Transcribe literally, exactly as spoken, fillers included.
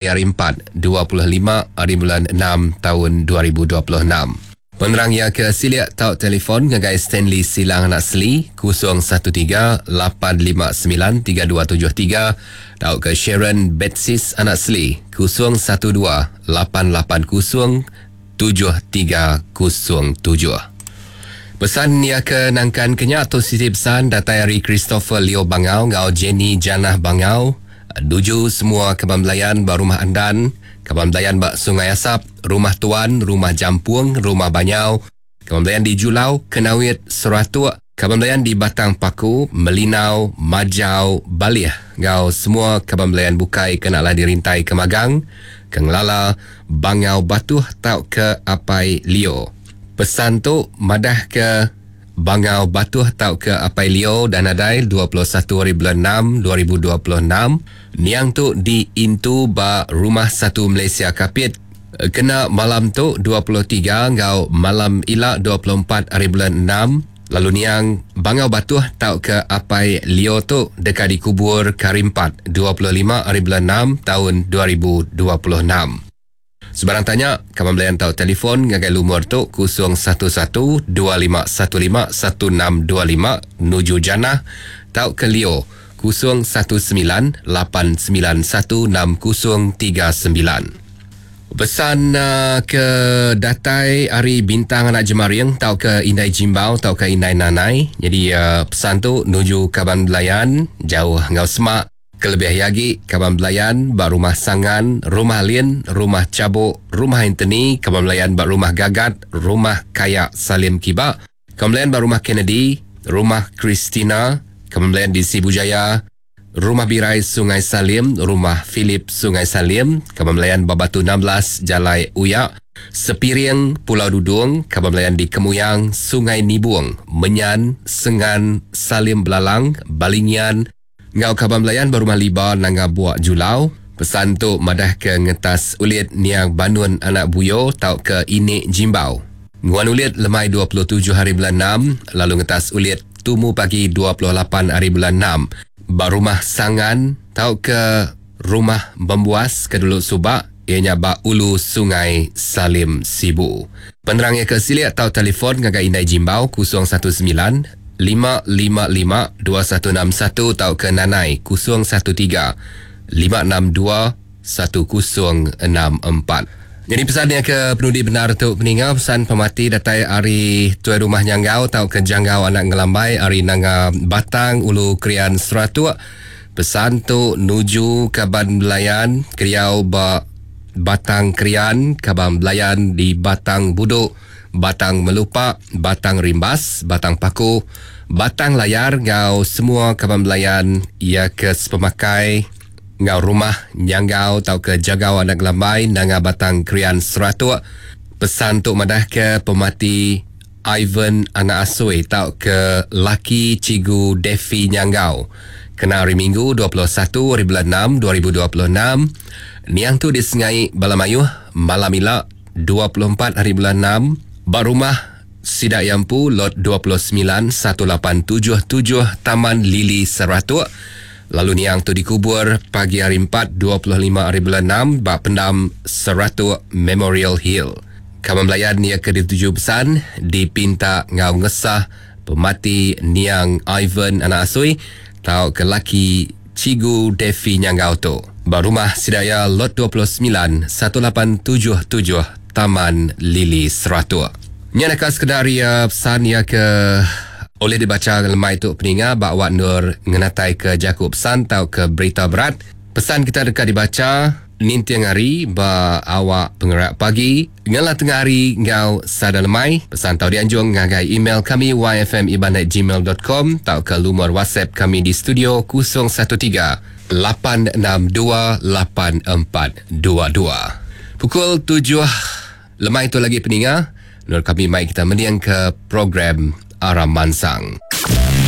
Hari empat, dua puluh lima hari bulan enam tahun dua ribu dua puluh enam. Penerang ia ke silik tau telefon ngagai Stanley Silang Anak Seli kosong satu tiga lapan lima sembilan tiga dua tujuh tiga tau ke Sharon Betsis Anak Seli kosong satu dua lapan lapan kosong tujuh tiga kosong tujuh. Pesan ia ke nangkan kenya tu siti pesan datai hari Christopher Leo Bangau ngau Jenny Janah Bangau. Duju semua kaban belayan ba rumah Andan, kaban belayan ba Sungai Asap, rumah Tuan, rumah Jampung, rumah Banyau, kaban belayan di Julau, Kenawit, Seratuk, kaban belayan di Batang Paku, Melinau, Majau, Balih, ngau semua kaban belayan bukai kena lah dirintai ke Magang, ke Ngelala, Bangau Batuh tau ke Apai Leo. Pesan tu madah ke Bangau Batuh tau ke Apai Leo dan adai dua puluh satu hari bulan enam dua ribu dua puluh enam. Niang tu diintu ba Rumah Satu Malaysia Kapit. Kena malam tu dua puluh tiga ngau malam ila dua puluh empat hari bulan enam. Lalu niang Bangau Batuh tau ke Apai Leo tu dekat dikubur ke hari empat dua puluh lima hari bulan enam tahun dua ribu dua puluh enam. Sebarang tanya, kawan belayan tau telefon ngagai lumur tu kosong satu satu dua lima satu lima satu enam dua lima nuju Janah tau ke Leo kosong satu sembilan lapan sembilan satu enam kosong tiga sembilan. Pesan, uh, ke datai hari bintang anak jemaring tau ke Indai Jimbau tau ke Indai Nanai. Jadi, uh, pesan tu nuju kawan belayan jauh ngau semak. Kelebih lagi kawan belayan bak rumah Sangan, rumah Lin, rumah Cabuk, rumah Anthony, kawan belayan bak rumah Gagat, rumah Kayak Salim Kiba, kawan belayan bak rumah Kennedy, rumah Christina, kawan belayan di Sibu Jaya, rumah Birai Sungai Salim, rumah Philip Sungai Salim, kawan belayan bak Batu enam belas Jalai Uyak, Sepiring Pulau Dudung, kawan belayan di Kemuyang, Sungai Nibung, Menyan, Sengan, Salim Belalang, Balingian, ngau kaban belayan berumah liba nanga buak julau. Pesan tu madah ke ngetas ulit niang banun anak buyo tau ke inik jimbau. Nguan ulit lemai dua puluh tujuh hari bulan enam, lalu ngetas ulit tumu pagi dua puluh lapan hari bulan enam. Ba rumah Sangan tau ke rumah Membuas ke dulu subak, ianya ba Ulu Sungai Salim Sibu. Penerangnya ke silik tau telefon ngagai Indai Jimbau kosong satu sembilan lima lima lima dua satu enam satu tau ke Nanai kosong satu tiga lima enam dua satu kosong enam empat. Jadi pesannya ke penudi benar tu peninga pesan pemati datai ari tuai rumah Nyanggau tau ke Janggau anak Ngelambai ari Nanga Batang Ulu Krian Seratuk. Pesan tu nuju kaban belayan Kriau ba Batang Krian, kaban belayan di Batang Buduk, Batang Melupak, Batang Rimbas, Batang Paku, Batang Layar ngau semua kaban belayan ia ke sepemakai ngau rumah Nyanggau tau ke Jagau anak Gelambai Nanga Batang Krian Seratuk. Pesan tu madah ke pemati Ivan anak Asui tau ke laki Cigu Devi Nyanggau. Kena hari Minggu dua puluh satu hari bulan enam dua ribu dua puluh enam. Niang tu disengai Balamayuh malam ila dua puluh empat hari bulan enam ba rumah Sidak Yampu lot dua puluh sembilan satu lapan tujuh tujuh Taman Lili Seratuk. Lalu niang tu dikubur pagi hari empat dua puluh lima hari bulan enam ba pendam Seratuk Memorial Hill. Kawan belayan nia ke dituju pesan dipinta ngau ngesah pemati niang Ivan anak Asui tau ke laki Cigu Devi Nyanggau tu. Ba rumah Sidaya lot dua puluh sembilan satu lapan tujuh tujuh Taman Lili Seratuk. Nya nak sekedar ia pesan ia ke oleh dibaca lemai tu peninga bak Wak Nur ngenatai ke Jakub pesan tau ke berita berat. Pesan kita dekat dibaca nintiang hari ba awak pengerak pagi ngalah tengah hari ngau sada lemai. Pesan tau dianjung ngagai email kami y f m iban at gmail dot com tau ke lumur WhatsApp kami di studio kosong satu tiga lapan enam dua lapan empat dua dua. Pukul tujuh lemai tu lagi peninga Nur kami mai kita mendiang ke program Aram Mansang.